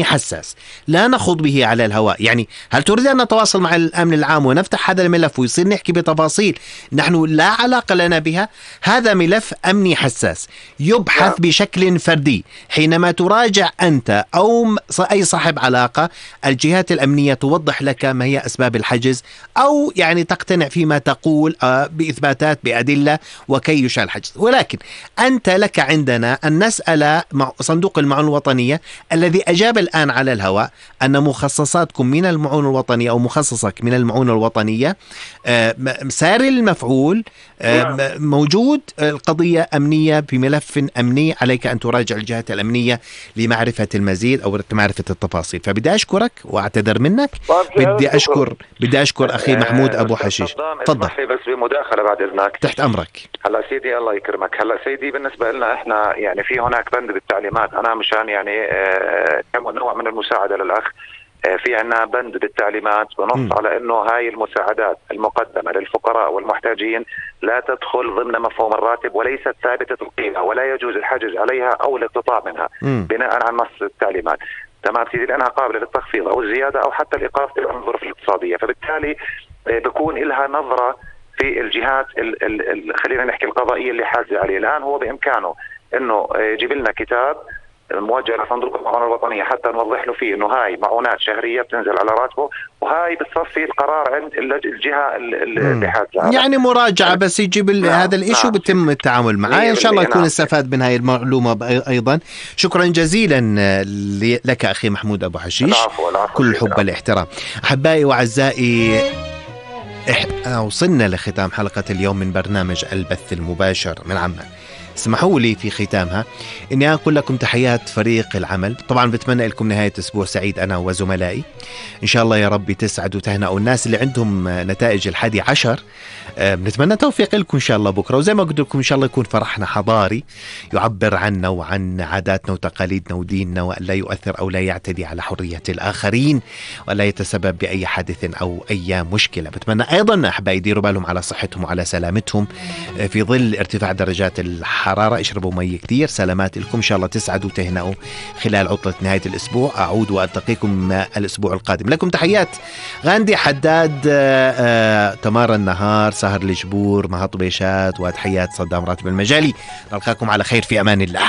حساس لا نخوض به على الهواء. يعني هل تريد أن نتواصل مع الأمن العام ونفتح هذا الملف ويصير نحكي بتفاصيل نحن لا علاقة لنا بها؟ هذا ملف أمني حساس يبحث بشكل فردي. حينما تراجع أنت أو أي صاحب علاقة، الجهات الأمنية توضح لك ما هي أسباب الحجز، أو يعني تقتنع فيما تقول بإثباتات بأدلة وكي يشعل الحجز. ولكن أنت لك عندنا أن نسأل صندوق المعونة الوطنية الذي أجاب الآن على الهواء أن مخصصاتكم من المعونة الوطنية أو مخصصك من المعونة الوطنية سار المفعول موجود. القضية أمنية بملف أمني، عليك أن تراجع الجهات الأمنية لمعرفة المزيد أو معرفة التفاصيل. فبدي أشكرك وأعتذر منك. بدي أشكر أخي محمود أبو حشيش. تفضل. بس بمداخلة بعد إذنك. تحت أمرك. هلا سيدي الله يكرمك. هلا سيدي بالنسبة لنا إحنا يعني في هناك بند بالتعليمات، أنا مشان يعني نوع من المساعدة للأخ، في عنا بند بالتعليمات بنص على انه هاي المساعدات المقدمة للفقراء والمحتاجين لا تدخل ضمن مفهوم الراتب وليست ثابتة القيمة ولا يجوز الحجز عليها او الاقتطاع منها بناء على نص التعليمات. تمام سيدي، لانها قابلة للتخفيض او الزيادة او حتى الايقاف في الظروف الاقتصادية، فبالتالي بيكون لها نظرة في الجهات خلينا نحكي القضائية اللي حاجة عليه. الان هو بامكانه انه يجيب لنا كتاب موجه لصندوق المعونة الوطنية حتى نوضح له فيه انه هاي معونات شهرية بتنزل على راتبه، وهاي بتصفي القرار عند الجهة اللي حاجة يعني مراجعة بس يجيب هذا الاشي وبتم التعامل معاه. ان شاء الله يكون استفاد من هاي المعلومة ايضا. شكرا جزيلا لك اخي محمود ابو حشيش. العفو. كل الحب والاحترام. احبائي واعزائي، وصلنا لختام حلقة اليوم من برنامج البث المباشر من عمان. اسمحوا لي في ختامها اني اقول لكم تحيات فريق العمل. طبعا بتمنى لكم نهاية اسبوع سعيد انا وزملائي. ان شاء الله يا رب تسعدوا وتهنئوا الناس اللي عندهم نتائج 11. بنتمنى توفيق لكم ان شاء الله بكره، وزي ما قلت لكم ان شاء الله يكون فرحنا حضاري يعبر عنا وعن عاداتنا وتقاليدنا وديننا، ولا يؤثر او لا يعتدي على حرية الاخرين، ولا يتسبب باي حادث او اي مشكلة. بتمنى ايضا احبائي يديروا بالهم على صحتهم وعلى سلامتهم في ظل ارتفاع درجات الحرارة. اشربوا مي كثير. سلامات لكم، ان شاء الله تسعدوا وتهنئوا خلال عطلة نهاية الاسبوع. اعود والتقيكم الاسبوع القادم. لكم تحيات غاندي حداد، تمار النهار، سهر الجبور، مهط بيشات، وتحيات صدام راتب المجالي. نلقاكم على خير في امان الله.